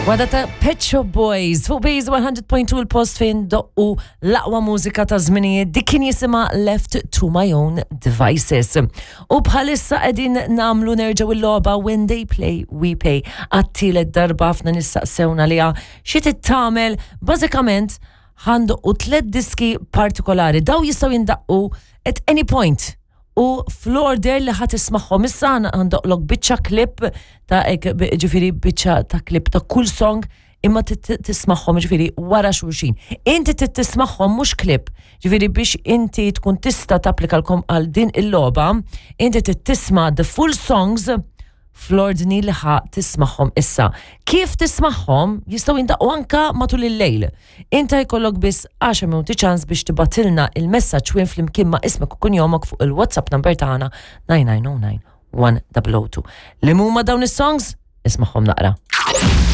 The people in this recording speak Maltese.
Wada ta' Pet Shop Boys fuq Base 100.2 il-post fejn doqqu l-aqwa mużika ta' żminijiet dik kien jisimha Left to My Own Devices. U bħalissa qegħdin nagħmlu nerġgħu il-logħba When They Play We Pay għat-tielet darba ħafna nistaqsewna liha xi tagħmel bażikament ħandoqqu tliet diski partikolari daw jistgħu jindaqqu at any point u fl-order li ħa tismagħhom issa għandoqlok biċċa clip ta' ġifieri biċċa ta' clip ta' kull song imma tismagħhom ġifieri wara xulxin. Inti tismagħhom mhux clip, ġifieri biex inti tkun tista' tapplika lkom għal din il-logħba, inti tisma' the full songs fl-ordni li ħa tismagħhom issa. Kif tismagħhom jistgħu jindaqqu anka matul il-lejl. Inta jkollok biss 10 minuti ċans biex tibgħatilna il-messaġġ wien flimkien ma' ismek u kunjomok fuq il-WhatsApp number tagħna 9909 1002. Li huma dawn is-songs? Ismagħhom naqra.